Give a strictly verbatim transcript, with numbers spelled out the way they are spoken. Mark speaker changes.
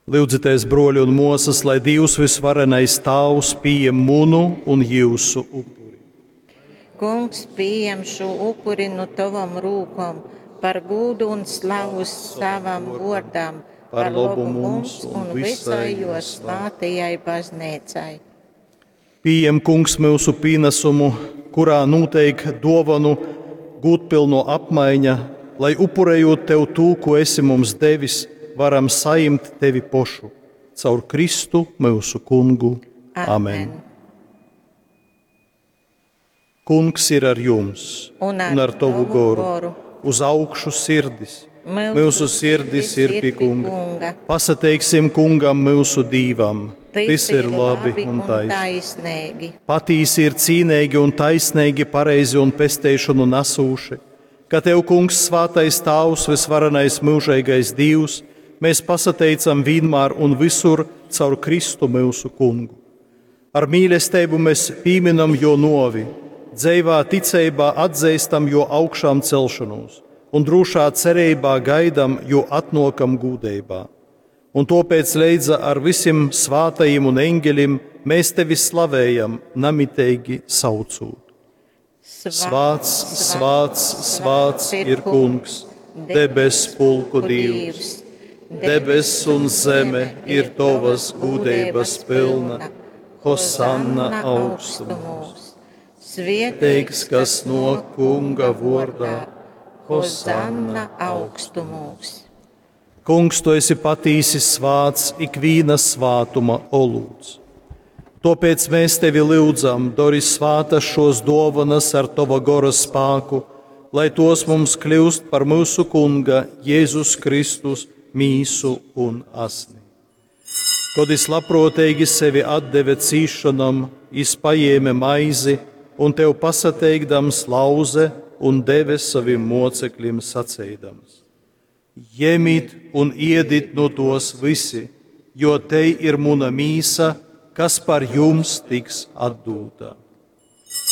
Speaker 1: Lyudzitēs, bruoļi un muosys, lai Dīvs vysvarenais Tāvs pījem munu un jiusu upuri.
Speaker 2: Kungs pījem šū upuri nu tovom rūkom par gūdu un slavu savam vōrdam, par lobu mums un visai jō svātajai bazneicai.
Speaker 1: Pījem, Kungs, myusu pīnesumu, kurā nūteik duovanu gūdpylno apmaiņa, lai upurējot Tev tū, ko esi mums devis, varam sajimt Tevi pošu. Caur Kristu myusu Kungu. Amen. Amen. Kungs ir ar jums
Speaker 2: un ar, un ar tovu goru. goru.
Speaker 1: Uz augšu sirdis. Myusu, myusu sirdis ir pie kunga. kunga. Pasateiksim kungam myusu Dīvam.
Speaker 2: Tys, Tys ir labi un taisneigi.
Speaker 1: Patīsi ir cīneigi un taisneigi, pareizi un pesteišonu nesūši, ka Tev, Kungs, svātais Tāvs, vysvarenais myužeigais Dīvs, mēs pasateicam vienmēr un visur caur Kristu myusu Kungu. Ar mīlestību mēs pīminam jo novi, dzeivā ticeibā atzīstam jo augšām celšanos un drūšā cerībā gaidam jo atnokam gūdeibā. Un tāpēc leidza ar visiem svātajiem un eņģeļiem mēs tevi slavējam, namiteigi saucot. Svāts, svāts, svāts ir Kungs, debes pulku Dievs. Debes un zeme ir tavas gūdeibas pilna. Hosanna augstumos.
Speaker 2: Svētīgs,
Speaker 1: kas no Kunga vārdā.
Speaker 2: Hosanna augstumos.
Speaker 1: Kungs, tu esi patīsi svāts ikvīna svātuma olūts. Tāpēc mēs tevi lūdzam, dori svātas šos dovanas ar tava gora spāku, lai tos mums kļūst par mūsu Kunga Jēzus Kristus mīsu un asni. Kad es labprātīgi sevi atdeve cīšanam, es paēme maizi un tev pasateikdams lauze un deve saviem mocekļiem sacīdams: Ņemiet un iedit no tos visi, jo te ir muna mīsa, kas par jums tiks atdūta.